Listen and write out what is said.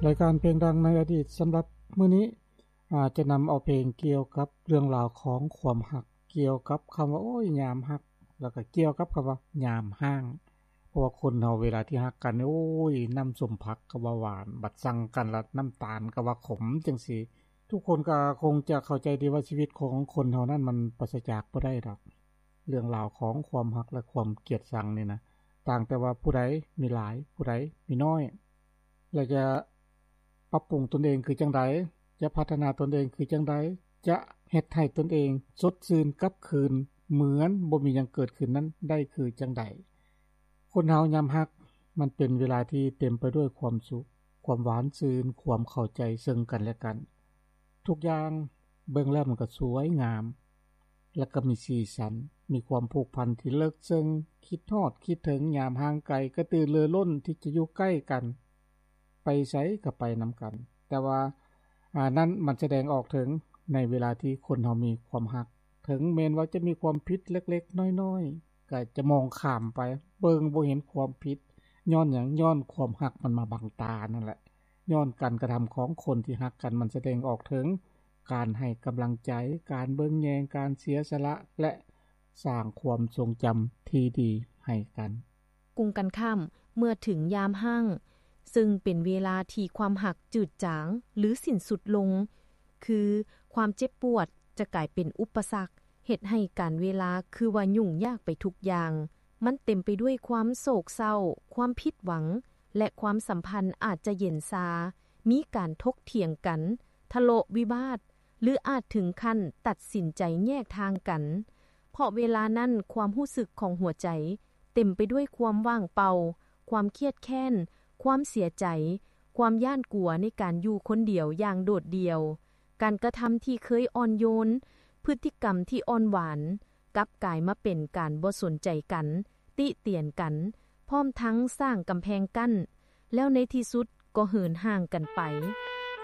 ລາຍການເພງດັງໃນອະດີດສຳລັບມື້ນີ້ ອາດຈະນຳເອົາເພງກ່ຽວກັບເລື່ອງລາວຂອງຄວາມຮັກ ກ່ຽວກັບຄຳວ່າ ໂອ້ຍ ຍາມຮັກ ແລ້ວກໍກ່ຽວກັບຄຳວ່າ ຍາມຮ້າງ. ເພາະວ່າຄົນເຮົາເວລາທີ່ຮັກກັນນີ້ ໂອ້ຍ ນ້ຳສົ້ມຜັກກໍວ່າຫວານ ບັດຊັງກັນລະນ້ຳຕານກໍວ່າຂົມ ຈັ່ງຊີ້. ທຸກຄົນກໍຄົງຈະເຂົ້າໃຈດີວ່າ ຊີວິດຂອງຄົນເຮົານັ້ນມັນປາສະຈາກບໍ່ໄດ້ດອກ ເລື່ອງລາວຂອງຄວາມຮັກ ແລະ ຄວາມກຽດຊັງນີ້ນະ ຕ່າງແຕ່ວ່າຜູ້ໃດມີຫຼາຍ ຜູ້ໃດມີນ້ອຍ ແລະ ຈະປັບປຸງຕົນເອງຄືຈັ່ງໃດ, ຈະພັດທະນາຕົນເອງຄືຈັ່ງໃດ, ຈະເຮັດໃຫ້ຕົນເອງສົດຊື່ນກັບຄືນ ເໝືອນບໍ່ມີຫຍັງເກີດຂຶ້ນນັ້ນໄດ້ຄືຈັ່ງໃດ. ຄົນເຮົາຍາມຮັກ ມັນເປັນເວລາທີ່ເຕັມໄປດ້ວຍຄວາມສຸກ, ຄວາມຫວານຊື່ນ, ຄວາມເຂົ້າໃຈເຊິ່ງກັນແລະກັນ. ທຸກຢ່າງເບິ່ງແລ້ວມັນກໍສວຍງາມ ແລະກໍມີສີສັນ, ມີຄວາມຜູກພັນທີ່ເລິກເຊິ່ງ, ຄິດຮອດຄິດເຖິງຍາມຫ່າງໄກ, ກະຕືລືລົ້ນທີ່ຈະຢູ່ໃກ້ກັນ, ໄປໃສກໍໄປນຳກັນ. ແຕ່ວ່າ ອາ ນັ້ນມັນສະແດງອອກເຖິງໃນເວລາທີ່ຄົນເຮົາມີຄວາມຮັກ, ເຖິງແມ່ນວ່າຈະມີຄວາມຜິດເລັກໆນ້ອຍໆ ກໍຈະມອງຂ້າມໄປ, ເບິ່ງບໍ່ເຫັນຄວາມຜິດ. ຍ້ອນຫຍັງ? ຍ້ອນຄວາມຮັກມັນມາບັງຕານັ້ນແຫຼະ. ຍ້ອນການກະທຳຂອງຄົນທີ່ຮັກກັນ ມັນສະແດງອອກເຖິງການໃຫ້ກຳລັງໃຈ, ການເບິ່ງແຍງ, ການເສຍສະຫຼະ ແລະ ສ້າງຄວາມຊົງຈຳທີ່ດີໃຫ້ກັນ. ກົງກັນຂ້າມ, ເມື່ອເຖິງຍາມຮ້າງ, ເຊິ່ງເປັນເວລາທີ່ຄວາມຮັກຈືດຈາງ ຫຼື ສິ້ນສຸດລົງ, ຄືຄວາມເຈັບປວດຈະກາຍເປັນອຸປະສັກ, ເຮັດໃຫ້ການເວລາຄືວ່າຫຍຸ້ງຍາກໄປທຸກຢ່າງ. ມັນເຕັມໄປດ້ວຍຄວາມໂສກເສົ້າ, ຄວາມຜິດຫວັງ ແລະ ຄວາມສຳພັນອາດຈະເຢັນຊາ, ມີການຖົກຖຽງກັນ, ທະເລາະວິວາດ ຫຼື ອາດເຖິງຂັ້ນຕັດສິນໃຈແຍກທາງກັນ. ເພາະເວລານັ້ນຄວາມຮູ້ສຶກຂອງຫົວໃຈເຕັມໄປດ້ວຍຄວາມວ່າງເປົ່າ, ຄວາມຄຽດແຄ້ນ, ຄວາມເສຍໃຈ, ຄວາມຢ້ານກົວໃນການຢູ່ຄົນດຽວຢ່າງໂດດດ່ຽວ. ການກະທຳທີ່ເຄີຍອ່ອນໂຍນ, ພຶດຕິກຳທີ່ອ່ອນຫວານ, ກັບກາຍມາເປັນການບໍ່ສົນໃຈກັນ, ຕິຕຽນກັນ, ພ້ອມທັງສ້າງກຳແພງກັ້ນ, ແລ້ວໃນທີ່ສຸດກໍເຫີນຫ່າງກັນໄປ.